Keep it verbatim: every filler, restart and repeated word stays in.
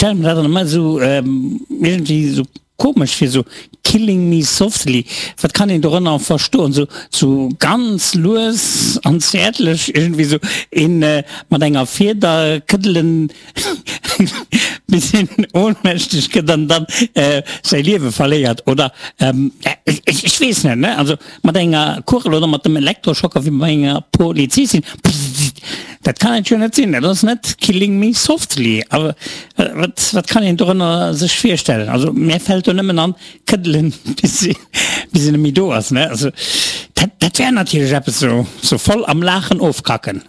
Stelle mir dat dann ëmmer esou iergendwéi esou komesch vir, esou Killing me softly, wat kann een dorënner verstoen? Esou sou ganz lues an zäertlech iergendwéi esou een mat enger Fieder këddelen bis een ohnmächteg gëtt an dann säi Liewe verléiert oder ech weess net, ne? Also mat enger Kugel oder mat dem Elektroschocker wéi bei enger Polizistin, dat kann et jo net sinn, dat ass net Killing me softly. Awer wat, wat kann een dorënner sech virstellen? Also mär fält do nëmmen an, këddelen bis se, bis se net méi do ass, ne? Also dat, dat wär natierlech eppes, sou, sou voll am Laachen ofkacken.